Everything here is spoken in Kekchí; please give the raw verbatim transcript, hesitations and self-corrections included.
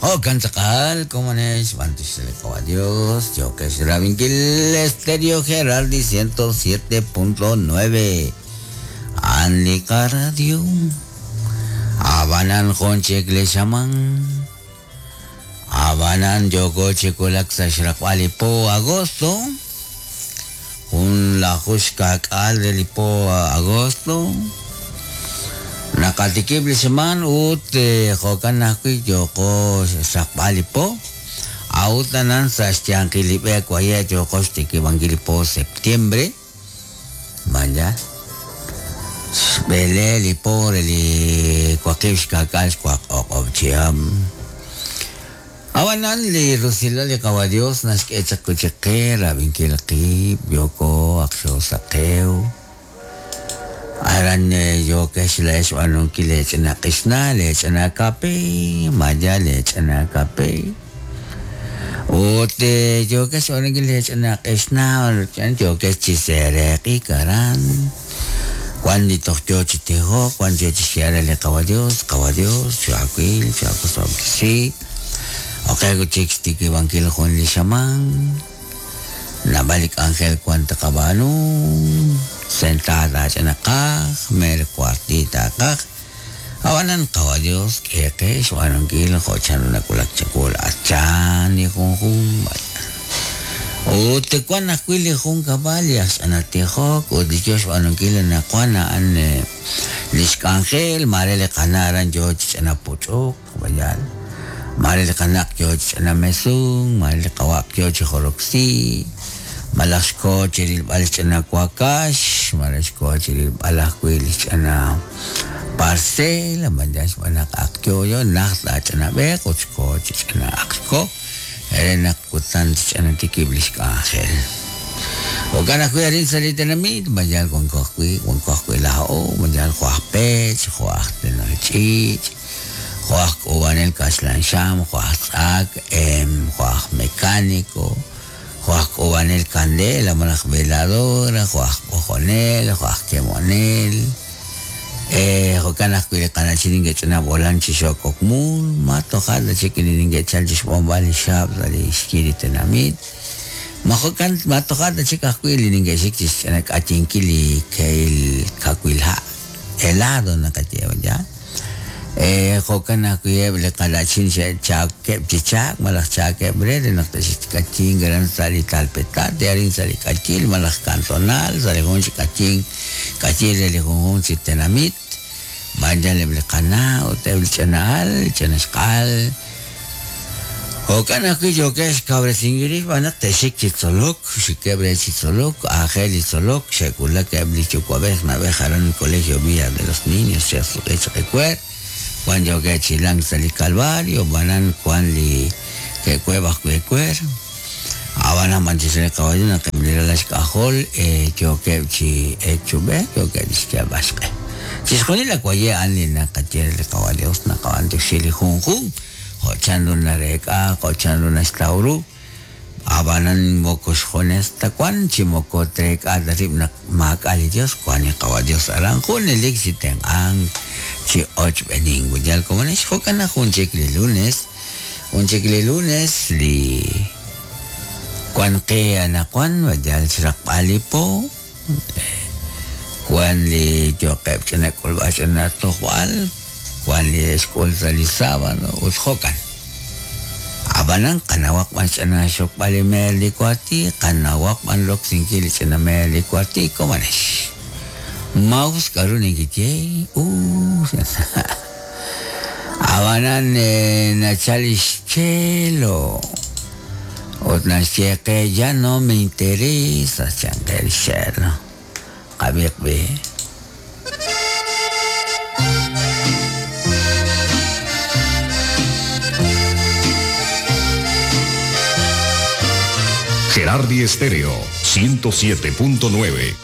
Jo'kan tz'aqal, komonex, b'antiox a Dios, yokex rabinkil Estéreo Gerardi ciento siete punto nueve. Anlika Radio. Abanan jonchek le llaman. Abanan yoko chekolak sa xraqb'al po agosto. Un la xuxkak'al del po agosto. Nakatikib li xaman ut jo'kan ajwi' yoko xraqb'al po. Autanan sa xyanqilib'e waye yoko xtikibankil po septiembre. Manja. Xb'ele li po re li waqib' xkak'al xwaq o'q'ob' chihab'. Abanan li rusilal li qawa Dios naxk'e chaq kuchiqe rabinkil qib' yoko aqxo saqew. Aran yokex lex b'anunkil lech'ina q'ixna lech'ina kape maya lech'ina kape. Ut yokex b'anunkil lech'ina q'ixna yokex chisereqi karan. Cuando toj yo chitijo, cuando yo chixiara le qawa Dios, qawa Dios, chuaquil, chuakusobkisi. Okay, kuchik tiki bangkil jun li xaman. Nabalik ángel cuanta kabanu. Sentada chanakaj, mer cuartita kaj. Awanan qawa Dios, keke, xuanunkil, jochan nakulak chakul, achan, ni junjun. Ut kuan ajwi' li jun kab'al li axch'anatijok ut li yo xb'aanunkil anaqwan a'an li xk'anjel mare li qana' aran yo chich'anapuch'uk bayal mare li qanaq yo chich'anamesun mare li qawaq yo chijoroksi malaj xko chirilb'al xch'anakuakax mare xko chirilb'al ajwi' li xch'ana parcela maya xb'anaq aq yo yo naj tach'anab'eq ut xko chich'ana aq xko Erena kutan ch'anatikib li xk'anjel. Jo'kan ajwi' arin sa li tenamit, mayal wanko ajwi', wanko ajwi' la'o, mayal jo' aj pech, jo' aj tenol ch'iich', jo' aj k'uub'anel kaxlan xam, jo' aj tz'ak, jo' aj mecánico, jo' aj k'uub'anel candela, malaj veladora, jo' aj b'ojonel, jo' aj kemonel. Eh, jo'kan ajwi' li qana'chin ninkech'ana b'olan chi xok'okmul, ma tojal ta chik li ninkechal chi xb'onb'al li xab' sa' li xyi li tenamit. Ma jo'kan ma tojal ta chik ajwi' li ninkexik chi xch'anak'achinkil li keil kawil ha' helado naqayew ya. Eh, jo'kan ajwi' eb' li qana'chin xe'chakeb' chi chak malaj chakeb' re re naq te'xk'achin garan sa' li talpetate arin sa' li k'achil malaj cantonal sa' li jun chi k'achin k'achil re li junjun chi tenamit. Vayan eb' li qana' ut eb' li ch'ana'al, ch'anaxq'al. Jo'kan ajwi' yokex kawresinkil b'anaq te'xik chi tzolok, xikeb' re chi tzolok, aajel li tzolok, xe'kulak eb' li yuwa'b'ej nab'ej aran Colegio Villa de los Niños xe'suq'i chaq ewer. Wan yoke chilang sa' li Calvario, b'anan wan li ke'kueb' ajwi' ewer. Abanan b'an chi sa' li qawayo naq eb' li ralal xk'ajol, yookeb' chi echub'ej, yookeb' chi xyalb'al xq'e. Chixjunil la waye a'an li naqaye li qawa Dios naqab'antioxi li junjun, jo' chanru nareek'a, jo' chanru naxtaw ru. Abanan moko xjunes ta wan, chi moko treek'a ta rib' naq maak'a li Dios, wan li qawa Dios aran junelik chi tenq'ank, chi ochb'enin. Yal komonex jo'kan naq jun chik li lunes, jun chik li lunes li wan qe anaqwan, yal xraqb'al li po, wan li yoqeb' ch'ina k'ulb'al ch'ina tojb'al, wan li xk'ul sa' li sábado ut jo'kan. Abanan qanawaq b'an ch'ina xokb'al li meer li kuati, qanawaq b'an roksinkil li ch'ina meer li kuati, komonex. Maus k'aru ninkitye, uh, Abanan nachal ixchelo. Ut naxye qe ya no me interesa chanqe li xelo. Qabiq bi. Gerardi Estéreo ciento siete punto nueve.